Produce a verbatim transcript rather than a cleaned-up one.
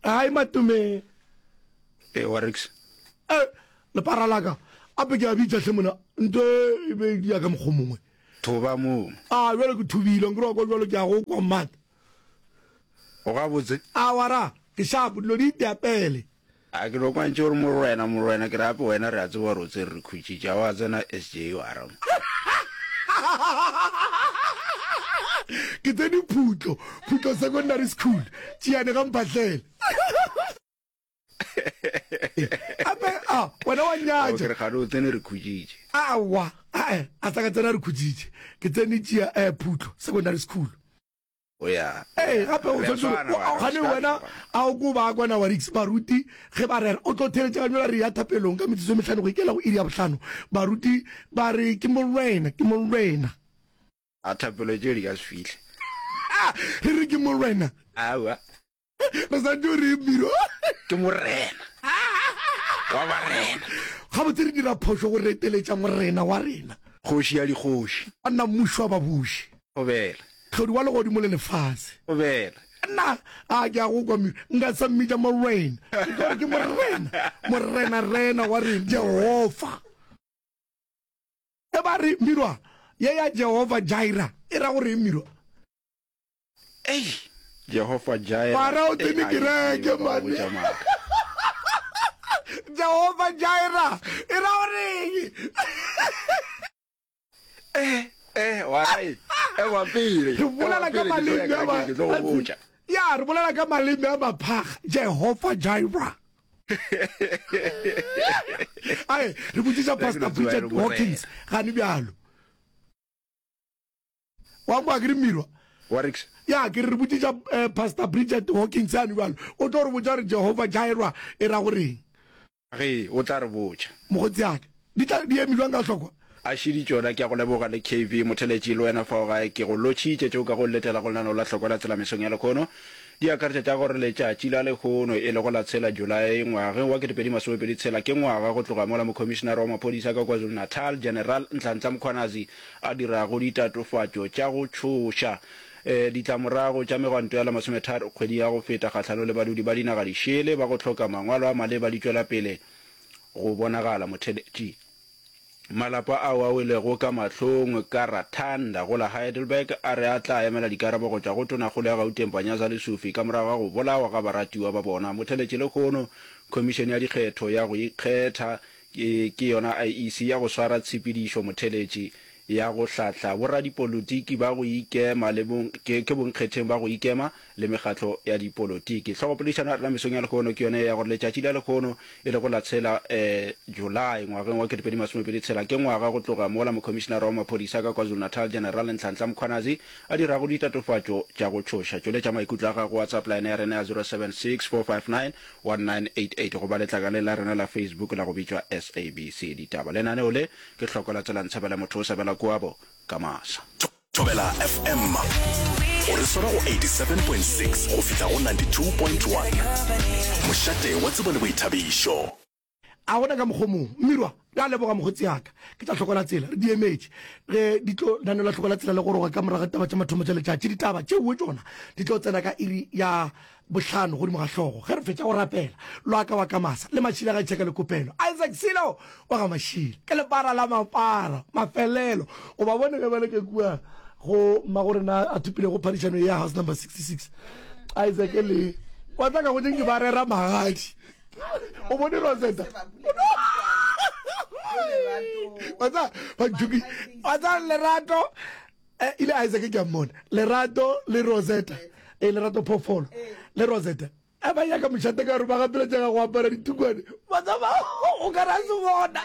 Hai Matume. Ee, Warix. Eh, lepara la ka. Ape ke a bitša hle mona. Nto e be e dia ka mokgwa mongwe. Thoba moo. A bjale ke thobile, nkere wa kwa bjalo ke a go kwa mat. O gabotse? A wara, ke shapo, dilo di itea pele. A ke no kwa ntše o re morwena, morwena, ke re ape wena re a tseba gore o tsere re khutšitše, a wa tsena S J wara. Ke tsene Phutlo, Phutlo Secondary School, Tšiane ga Mphahlele. Ape, a, wena wa O nyatša. ke re gane o tsene re khutšitše. Aowa, ae, a sa ka tsena re khutšitše. Ke tsene Tšia, eh, Phutlo Secondary School. O ya. Ee, gape o Re a tshwanetse swana, gore wara, o gane o ska wena tšhoga. a o ko ba kwana wa riks baruti ge ba rera o tlo theletša ka nyola re ya thapelong ka metsotso e mehlano go ikela go iri ya bohlano baruti ba re ke morena ke morena. A thapelo tšeo di ka se fihle. Re re ke morena. Aowa. Re sa tšo re miro. Ke morena wa barena. Gabotse re dira phošo go reteletša morena wa rena. Kgoši ya dikgoši. Banna mmuši wa babuši. Thobela. Tlhodi wa legodimo le lefase. Thobela. Nna, a ke a go kwa miro. Nka sa mmitša morena. Ke tlo re ke morena. Morena rena wa rena. Jehofa. E ba re mirwa ye ya Jehofa Jireh e ra gore eng mirwa? Ei, Jehofa Jireh. Mara o Ei, tsene a ke kereke tsebe, ba go mane. botša maaka. Jehofa Jireh e ra goreng? Eh, eh, wara e. Ema pele. Re bolela Ema ka pele, ke tlo ya maleme a kerekeng, ke tlo go botša. Ya, re bolela ka maleme a maphaga. Jehofa Jireh. Ae, re botšiša Nna ke Pastor no tseba e Bridget le morena. Hawkins gane bjalo. Wa kwa ke re Mirwa? Warix. Ya, ke re re botšiša eh, Pastor Bridget Hawkins gane bjalo. O tlo re botša gore Jehovah Jireh e ra goreng. Ge, o tla re botša. Mokgotsi ya ka, di tla di eme bjang ka hlokwa? A šidi tšona, ke a go leboga le K V Motheletši le wena fao gae, ke go lotšhitše tšeo ka go letela go lenaneo la Hlokwa la Tsela mesong ya lekhono. Di akaretša tša gore letšatši la lehono, e lego la tshela Julae ngwageng wa ketepedi masomepedi tshela, ke ngwaga go tloga mola Mokhomišenare wa Maphodisa ka KwaZulu-Natal, General Nhlanhla Mkhwanazi a dirago ditatofatšo tša go tšhoša ditlamorago tša megwanto ya la masometharo kgwedi ya go feta kgahlanong le badudi ba dinaga dišele ba go hloka mangwalo a maleba di tšwela pele go bonagala. Motheletši. Malapa ao a welego ka mahlong ka Rathanda go la Heidelberg a re a tla emela dikarabo go tšwa go Tonakgolo ya Gauteng Panyaza Lesufi ka morago ga go bolawa ga baratiwa ba bona. Motheletši lehono Khomišene ya Dikgetho ya go Ikgetha ke ke yona I E C ya go swara tshepedišo motheletši ya go hlahla boradipolotiki ba go ikema le ke ke bonkgetheng ba go ikema le mekgatlo ya dipolotiki. Hlogopoledišano ya rena mesong ya lehono ke yona ya gore letšatši la lehono e lego la tshela July ngwageng wa ketepedi masomepedi tshela ke ngwaga go tloga mola Mokhomišenare wa Maphodisa ka KwaZulu-Natal General Nhlanhla Mkhwanazi a dirago ditatofatšo tša go tšhoša. Tšweletša maikutlo a gago WhatsApp line ya rena ya zero seven six four five nine one nine eight eight goba letlakaleng la rena la Facebook la go bitšwa S A B C Ditaba. Lenaneo le ke Hloko la Tsela Ntshebele Motho o sebela kuabo ka masa. Thobela F M o re swara go eighty-seven point six go fihla go ninety-two point one. Mošate wa tsebo le boithabišo. A gona ka mokgwa o mongwe. Mmirwa, Re a leboga mokgotsi ya ka. Ke tša Hloko la Tsela. Re di emetše. Ge di tlo lenaneo la Hloko la Tsela le goroga ka morago ga ditaba tša mathomo tša letšatši, ditaba tšeoe tšona di tlo tsena ka iri ya bohlano godimo ga hlogo. Ge re fetša go rapela, Lwaka wa ka masa le Mašila ga tšheka le kopelo. Isaac Silo wa ga Mašila. Ke lepara la mapara, mafelelo. O ba bone ge ba le ka kua go mmagorena a thopilego phadišano ye ya House Number sixty-six. Isaac le wa tla ka go tšeng ke ba rera magadi. O bone Rosetta? Wa tsa ba njuki. Wa tsa Lerato eh, ile Isaac ke a mmona. Lerato le Rosetta. E Lerato phoofolo le Rosetta. A ba ya ka mošate ka gore ba gapeletšega go apara ditukwane. Ba tsa ba o ka ra se bona.